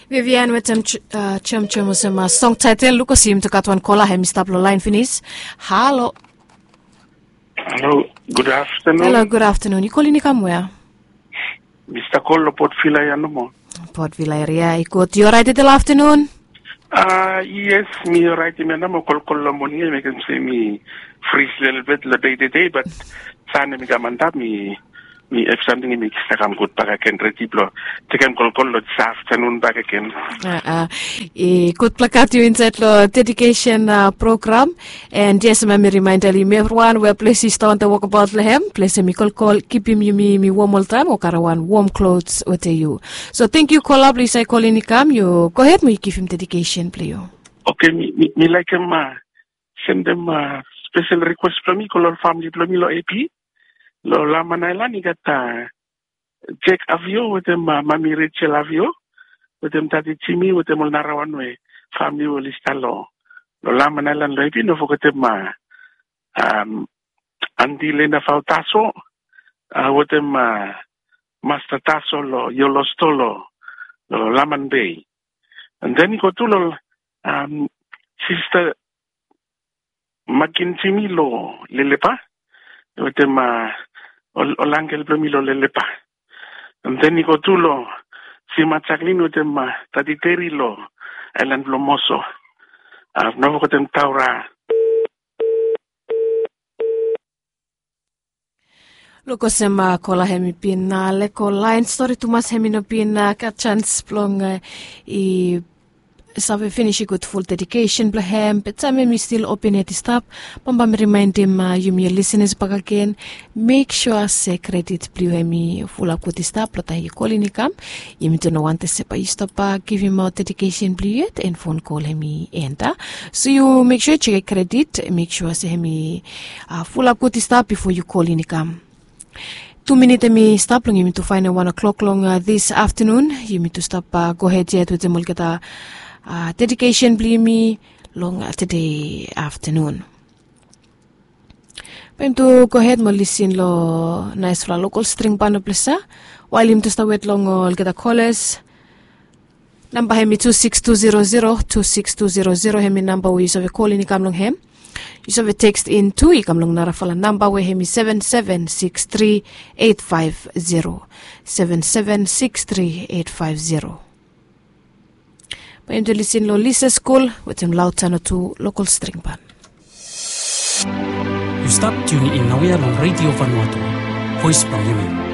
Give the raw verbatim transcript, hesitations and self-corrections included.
Vivian wetem chomchom olsem song taetel lukosim tu gat wan kola hem i stap long lain finis. Halo. Halo. Gud aftanun. Halo, gud aftanun. Yu kolin i kam wea? Mista kol long potvila ya nomo. Potvila eria i gud, yu orait i del aftanun? Yes, mi orait i mena mo kolkol long moning ya i mekem se mi fris lelebet long dei tedei bat san ya mi kam antap mi mi ef samting i mekis a kam gut bak agen redi blong tekem kolkol long dis aftanun bak agen. I gut blong gat yu insaed long dedikesen program. And yes, mami rimaenda long yumi evriwan we ples i stap wantaim wokabaot long hem, ples hem i kolkol kipim yumi mi wom oltaim o kare wan wom klos wetem yu. So tengiu kola blong yu save kolin i kam yu gohed mo yu givim dedikesen blong yu. Oke, mi laikim sendem spesel rikwes blong mi go long ol famili blong mi long ap long laman aelan i gat jek avio wetem mami rejel avio wetem tati jimi wetem ol narawan we famili we oli stap long laman aelan long ap. No fogetem anti lena fao taso wetem masta taso long yolo sto long laman bei. And then i go tu long sista makin jimi long lelepa wetem ol angel blong mi long lelepa. And then i go tu long sima jaklin wetem tati teri long aelan blong moso. No fogetem taura. Luk olsem kola hem i bin lego laen stori tumas hem i no bin gat jans blong i save finis i gut ful dedikesen blong hem be taem hem i stil open hed i stap. Bambae mi rimaendim yumi ol lisenas bakagen, mek sua se kredit blong yu hem i fulap gut i stap long taem yu kolin i kam. Yumi tu no wantem se bae yu stap givim aot dedikesen blong yu yet en fon kol hem i enta. So yu mek sua yu jekem kredit, mek sua se hem i fulap gut i stap bifo yu kolin i kam. Tu minit hem i stap long yumi tu faenem wan o'klok long dis aftanun. Yumi tu stap gohed yet wetem olgeta dedikesen blong yumi long tede aftanun. Bae yumi tu gohed mo lisin long naesfala lokol string ban o plesa wael yumi tu stap wet long olgeta kolas. Namba hem i tu siks tu zero zero tu siks tu zero zero hem i namba we yu save kolin i kam long hem. Yu save tekst in tu i kam long narafala namba we hem i seven seven siks tri eit faef zero, seven seven siks tri eit faef zero. Bae yumi tu lisin long lisa skul wetem laotano tu lokol string ban. Yu stap tiuni in naoia long redio vanuatu, voes blong yumi.